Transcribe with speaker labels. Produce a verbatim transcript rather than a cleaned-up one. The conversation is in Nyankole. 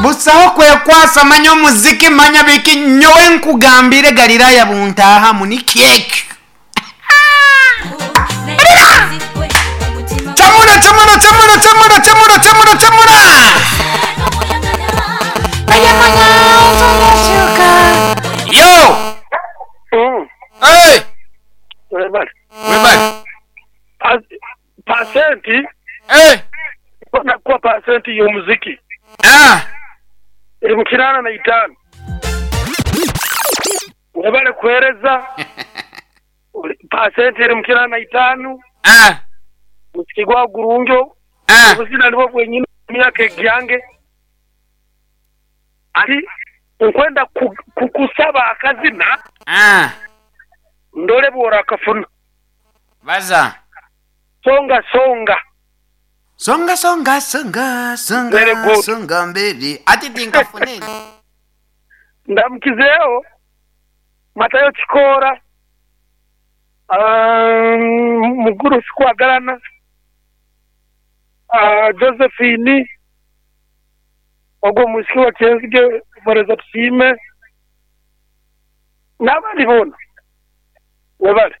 Speaker 1: Busaho kwekwasa, manya omuziki, manya biki. Nyowe nkugambire, Galilaya buntahamu nikyekyo. Chamura, chamura, chamura, chamura, chamura, chamura, chamura. Yo.
Speaker 2: Mm.
Speaker 1: Hey.
Speaker 2: Webale.
Speaker 1: Webale.
Speaker 2: Pa- Pasenti
Speaker 1: Hey.
Speaker 2: nakuwa pasenti y'omuziki
Speaker 1: Ah.
Speaker 2: eri mu kinaana na itaano. Webale kuhereza. Ori- pasenti eri mu kinaana na itaano.
Speaker 1: Ah.
Speaker 2: Muziki gwa gurunjo.
Speaker 1: Ah.
Speaker 2: Obuzina nibwo bwenyini mu myaka egyange. Ati nkwenda ku- kukusaba akazina
Speaker 1: Ah.
Speaker 2: ndole bwora akafuna.
Speaker 1: Baza.
Speaker 2: Songa songa.
Speaker 1: Songa, songa, songa, songa.
Speaker 2: Very good.
Speaker 1: Songa mbele. Ati tinkafuneni.
Speaker 2: Ndamukizeeho Matayo Kikoora, ah, Muguru Sikwagalana, ah, Josephine ogwo omwisiki wa Kyenzige Mwereza Tusiime n'abandi boona. Webale.